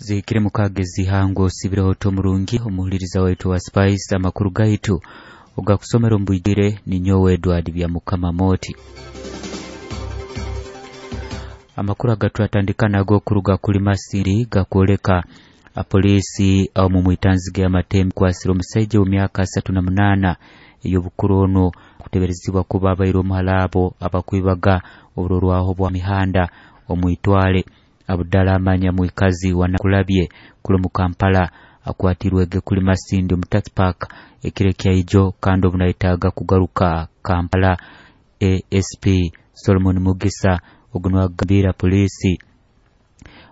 Zihikire mukaaga ez'ihango. Osiibireho ota omurungi omuhuliriza waitu wa Spice? Amakuru gaitu ogakusomera omu bwijwire ninyowe Edward Byamukama Moti. Amakuru agatwatandika nago kuruga kuli Masindi gakwoleka apoliisi omu mwitanziga y'amatembe kwasire omusaija w'emyaka 38 ey'obukuru. Onu kuteberezibwa kuba abaire omuhala abo abakwibaga oburorwaho bwa mihanda omwitwale. Abudala Amanya, mwikazi wa Nakulabye kuli omu Kampala, akwatirwege kuli Masindi omu Taxi Park ekiro ekyaijo kandi obu nayetaaga kugaruka Kampala. ASP Solomon Mugisa ogu niwe agambira poliisi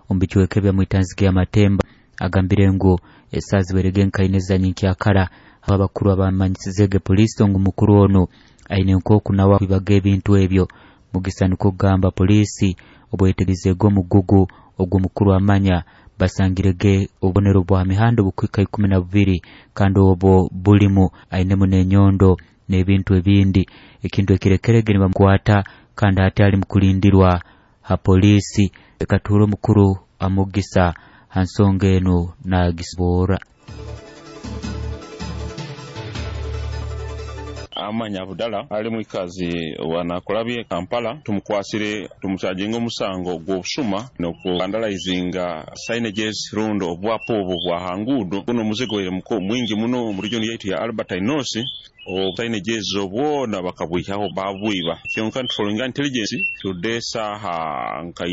omu bicweka ebya mwitanziga y'amatemba agambire ngu esaaha zibairege nkaine za nyenkyakara aho abakuru abamanyisizege poliisi ngu mukuru onu aine nk'oku nawe akwibaga ebintu ebyo. Mugisa nikwo kugamba poliisi obweyetegerizeege omugugu ogwo mukuru Amanya, basangirege obubonero bwa mihanda obukuhika 12, kandi obwo bulimu ainemu n'enyondo n'ebintu ebindi, ekintu ekirekerege nibamukwata kandi hati ali mukulindirwa ha poliisi. Leka tuhure omukuru Amugisa ha nsonga enu nagisoborra. Amanya Abudala ali mwikazi wa Nakulabye Kampala, tumukwasire tumucharginga omusango gw'obusuma n'okuvandalizinga signages rundi obwapa obwo bwa ha nguudo. Guno omuzigo gwaire mwingi muno omu region yaitu ya Albertine North. Signages obwona bakabwihaho babwiba, kyonka nitufollowinga intelligence tudde esaaha nka